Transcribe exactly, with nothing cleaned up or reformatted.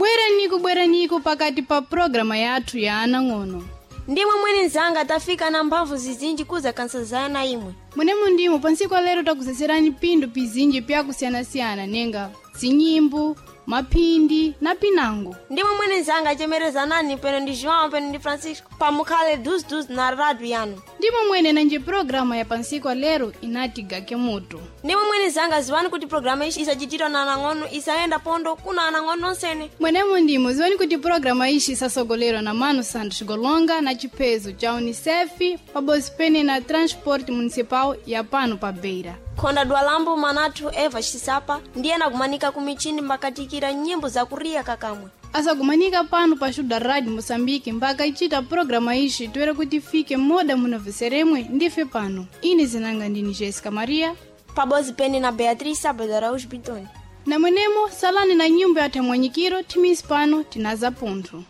Bweraniko, bweraniko pakati pa programa yathu ya anang'ono. Ndimwe mwene nzanga, tafika na mphamvu zizinji kuza kansazana imwe. Mwenemo ndimo pansiku lero takuseserani pindu pizinji pyakusiyanasiyana nenga zinyimbo, maphindi na pinango. Ndimwe mwene nzanga, chemerezanani peno ndi João, peno ndi Francisco, pamukhale duziduzi na rádio yanu. Ndimo mwene nanje programa ya pansiku lero inati gake moto. Ndimwe mwene nzanga, ziwani kuti programa ishi isachitidwa na anang'ono, isayenda pondo kuna anang'ono onsene. Mwenemo ndimo ziwani kuti programa ishi isasogolerwa na Mano Santos Golonga na chipezo cha Unicef pabozi pene na Transporte Municipal ya pano pa Beira. Khonda dwalambo manathu Eva Xisapa ndiye anakumanika ku michini mbakatikira nyimbo zakuriya kakamwe. Asakumanika pano pa Xuda Rádio Moçambique mpaka ichita programa ishi toera kuti ifike moda munaveseremwe ndife pano. Ine zinanga ndini Jessica Maria. Pabozi pene na Beatriz Sabado Araújo Bitoni. Na mwenemo salani na nyimbo ya Thamwanyikiro timisi pano tinaza punthu.